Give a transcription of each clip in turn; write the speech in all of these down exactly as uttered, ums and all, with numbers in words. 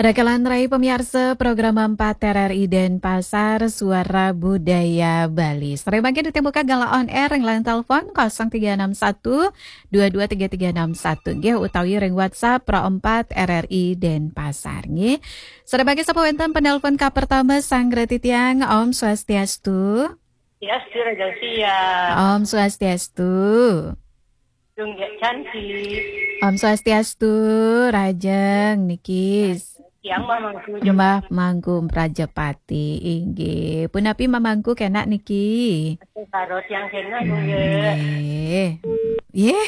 Rakalan rai pamiarsa program empat R R I Denpasar, Suara Budaya Bali. Sareng mangkin ditabuka galah on air ring line telepon kosong tiga enam satu dua dua tiga tiga enam satu nggih, utawi ring WhatsApp Pro empat R R I Denpasar nggih. Sareng mangkin sapa wénten penelpon kapertama, sanggra titiang, Om Swastiastu. Swastiastu, Raja Sia. Om Swastiastu. Dong ya cantik. Om Swastiastu, Rajeng niki. Tiang Mamangku Jempa. Mbah Mangku Prajapati, inggih. Punapi Mamangku kenak niki? Karo tiang kenak, nggih. Nggih. Nggih.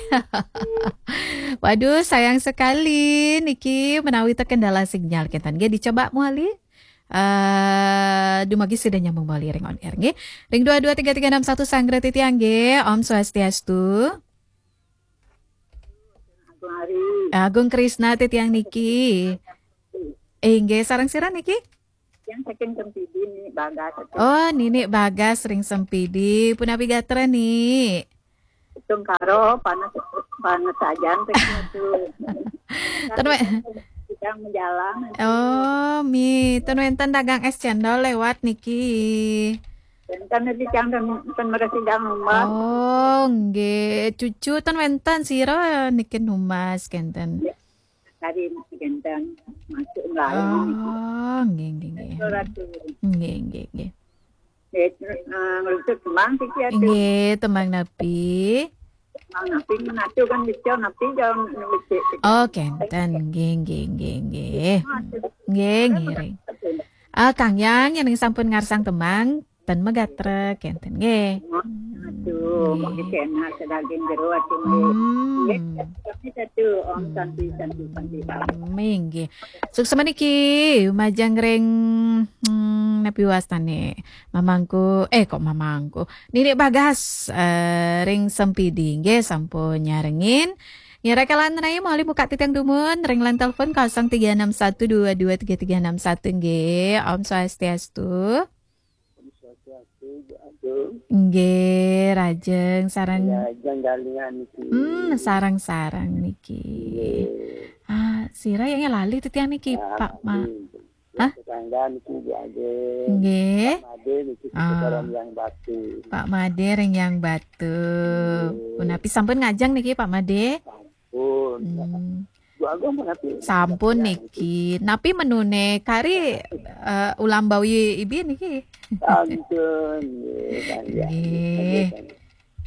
Waduh, sayang sekali niki menawi terkendala sinyal kenten. Nggih, dicoba malih. Eh, dumargi sida nyambung malih ring on air nggih. Ring dua dua tiga tiga enam satu sanggra titiang nggih. Om Swastiastu. Agung Hari. Agung Krisna titiang niki. Eh, inggih, sareng sira niki? Yang saking Sempidi, Nini Bagas. Oh, Nini Bagas ring Sempidi. Punapi gatra, Ni? Tungkaro, panas, panas sajan, teh, itu. Ten wé- Sedang menjalang. Oh, mi, ten wénten dagang es cendol lewat niki. Wénten niki, tiang ten, ten meresi jang rumah. Oh, nggih. Cucu ten wénten, sira niki numbas kenten. Tadi masih ganteng, masuk melayang. Oh, nggih, nggih, nggih. Surat tu. Nggih, nggih, nggih. Nggih, eh, ngerucut tembang siki atu. Nggih, tembang napi? Tembang napi menatu kan bisa, napi jauh ngecek. Oh, kenten. Nggih, nggih, nggih, nggih. Nggih, ngiring. Ah, Kang Yang, yang sampun ngarsang tembang, ten magatra, kenten nggih. Aduh, mau dikena sedaging jero ati nggih. Hmm. Nggih, kami satu, Om Santi, Santi, Santi. Hmm, nggih. Suksma niki, majeng ring, hmm, napi wastane? Mamangku, eh, kok Mamangku? Nini Bagas, eh, ring Sempidi, nggih, sampun nyarengin. Ngira kalan rai, malih buka titiang dumun, ring line telepon kosong tiga enam satu dua dua tiga tiga enam satu, nggih. Om Swastiastu. Om Swastiastu, Bu Agung. Nggih, Rajeng sareng. Ya, jang galian niki. Hmm, sareng-sareng niki. Nggih. Ah, sira yang lali titiang niki, ya, Pak Ma. Nggih. Hah? Tetangga niki, Bu Agung. Nggih. Pak Made niki, ah, sekitaran Yang Batu. Pak Made ring Yang Batu. Nggih. Punapi sampun ngajeng niki, Pak Made? Sampun. Hmm. Bu Agung pun napi? Sampun niki. Napi menune kari, eh, ulam bawi ibi niki? Sampun, nggih, kan, ya. Nggih.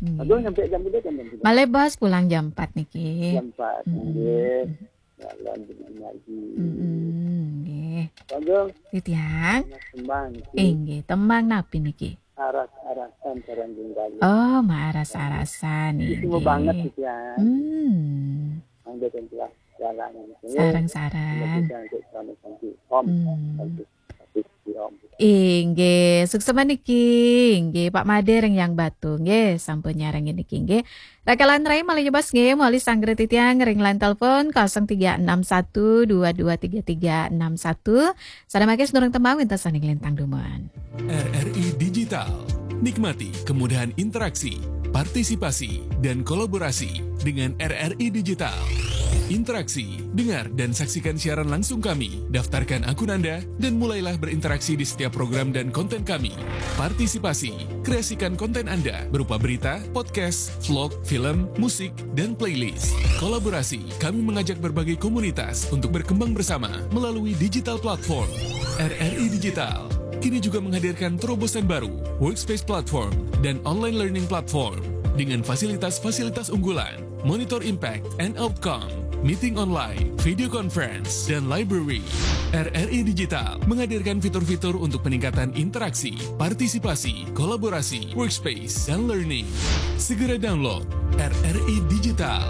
Nggih. Agung nyampe jam berapa jam, jam berapa? Malih bos pulang jam empat niki. Jam empat, hmm, nggih. Jalan dengan lagi. Hmm, nggih. Agung. Titiang. Tembang niki. Inggih, tembang napi niki? Aras-arasan sareng Jung Galih. Oh, maaras-arasan, nggih. Itu banget gitu ya. Hmm. Mangga dan telah jalan gitu. Sareng-sareng. Mangga dan telah jalan gitu. Om, hmm. Santi, Santi, Om. Inggih, suksma niki, inggih, Pak Made ring Yang Batu, nggih, sampun nyarengin niki, nggih. Rakalan rai malih nyebas nggih, malih sanggra titiang ring line telepon kosong tiga enam satu dua dua tiga tiga enam satu. Sareng mangkin sadurung tembang wénten sané nglintang dumun. R R I Digital. Nikmati kemudahan interaksi, partisipasi, dan kolaborasi dengan R R I Digital. Interaksi, dengar dan saksikan siaran langsung kami. Daftarkan akun Anda dan mulailah berinteraksi di setiap program dan konten kami. Partisipasi, kreasikan konten Anda berupa berita, podcast, vlog, film, musik, dan playlist. Kolaborasi, kami mengajak berbagai komunitas untuk berkembang bersama melalui digital platform. R R I Digital kini juga menghadirkan terobosan baru, Workspace Platform dan Online Learning Platform dengan fasilitas-fasilitas unggulan, monitor impact and outcome, meeting online, video conference, dan library. R R I Digital menghadirkan fitur-fitur untuk peningkatan interaksi, partisipasi, kolaborasi, workspace, dan learning. Segera download R R I Digital.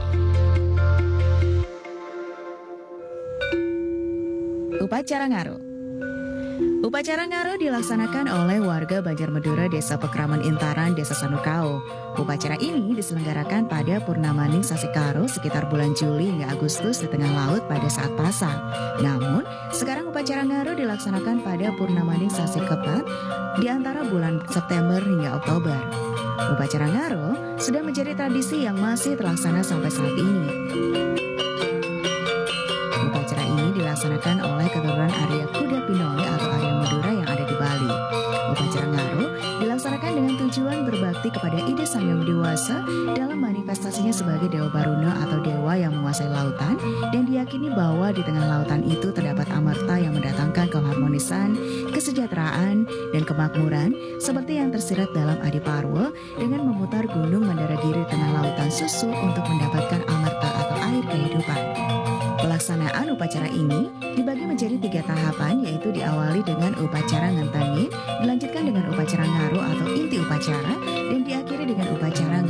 Upacara Ngaro. Upacara Ngaro dilaksanakan oleh warga Banjar Madura, Desa Pekraman Intaran, Desa Sanukao. Upacara ini diselenggarakan pada Purnamaning Sasi Karo sekitar bulan Juli hingga Agustus di tengah laut pada saat pasang. Namun, sekarang upacara Ngaro dilaksanakan pada Purnamaning Sasi Kepat di antara bulan September hingga Oktober. Upacara Ngaro sudah menjadi tradisi yang masih terlaksana sampai saat ini. Upacara ini dilaksanakan dilaksanakan oleh keturunan Arya Kuda Pinoli atau Arya Madura yang ada di Bali. Upacara Ngaro dilaksanakan dengan tujuan berbakti kepada Ida Sang Hyang Dewasa dalam manifestasinya sebagai Dewa Baruna atau dewa yang menguasai lautan, dan diyakini bahwa di tengah lautan itu terdapat amerta yang mendatangkan keharmonisan, kesejahteraan, dan kemakmuran, seperti yang tersirat dalam Adi Parwa dengan memutar gunung Mandaragiri di tengah lautan susu untuk mendapatkan amerta atau air kehidupan. Pelaksanaan upacara ini dibagi menjadi tiga tahapan, yaitu diawali dengan upacara Ngentengin, dilanjutkan dengan upacara Ngaro atau inti upacara, dan diakhiri dengan upacara